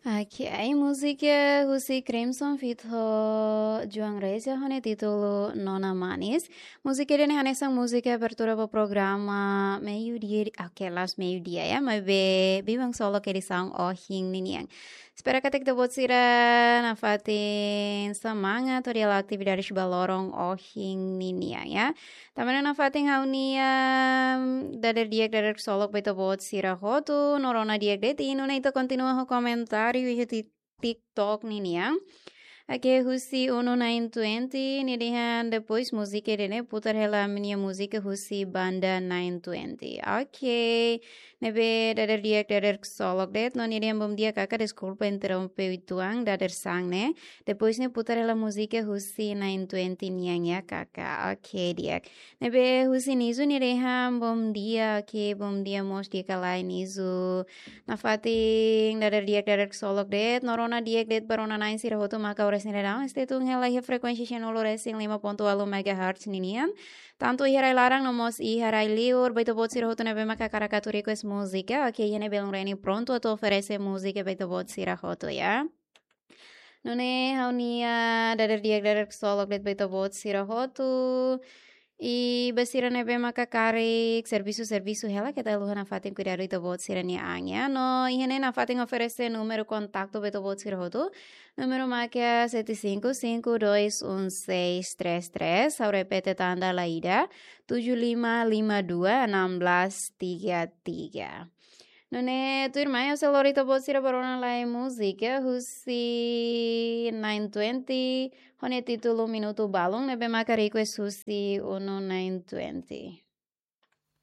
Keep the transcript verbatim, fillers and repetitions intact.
Ok, múzika husi Crimson feat ho João Reza ho nia títulu Nona Manis. Múzika ida-ne'e hanesan múzika abertura ba programa meiudia, ok, last meiudia ya, maibé biban solo ke edisaun ohin ninian. Espera katak ita-boot sira nafatin semangat hodi halo atividade ba loron ohin ninian ya. Tanba ne'e nafatin ha'u-nia dadeer di'ak, dadeer ksolok ba ita-boot sira hotu, no rona di'ak de'it, i nune'e ita kontinua ho komentáriu iha ti-, TikTok ninian. Ok, husi Uno nine twenty, nia dehan depois múzika ida-ne'e putar hela ami-nia múzika husi banda nine twenty. Ok, ne'ebé dadeer di'ak, dadeer ksolok de'it, no nia dehan bom dia kaka, deskulpa interrompe uitoan, dadeer san ne'e. Depois ne'e putar hela múzika husi nine twenty nian ya kaka. Ok, di'ak. Ne'ebé husi Nizu nia dehan bom dia, ok, bom dia mós di'ak ka lae Nizu. Nafatin dadeer di'ak, dadeer ksolok de'it, no rona di'ak de'it ba rona-na'in sira hotu maka oras ne'e daudaun stay tune hela iha frekuénsia cem nulu resin lima ponto ualu megahertz ninian. Tantu iha rai-laran no mós iha rai-liur, ba ita-boot sira hotu ne'ebé maka hakarak atu request múzika, ok, iha ne'e belun Reni prontu atu oferese múzika ba ita-boot sira hotu ya. Nune'e ha'u-nia dadeer di'ak, dadeer ksolok de'it ba ita-boot sira hotu. I ba sira ne'ebé maka karik servisu, servisu hela, keta haluha nafatin kuidadu ita-boot sira-nia an ya. No iha ne'e nafatin oferese númeru kontaktu ba ita-boot sira hotu. Númeru maka sete cinco cinco dois um seis três três, ha'u repete tan dala ida, tujuh lima lima dua enam belas tiga tiga. Nune'e tuirmai ha'u sei lori ita-boot sira ba rona lai múzika husi nine twenty ho nia títulu Minutu Balun, ne'ebé maka request husi Uno nine twenty.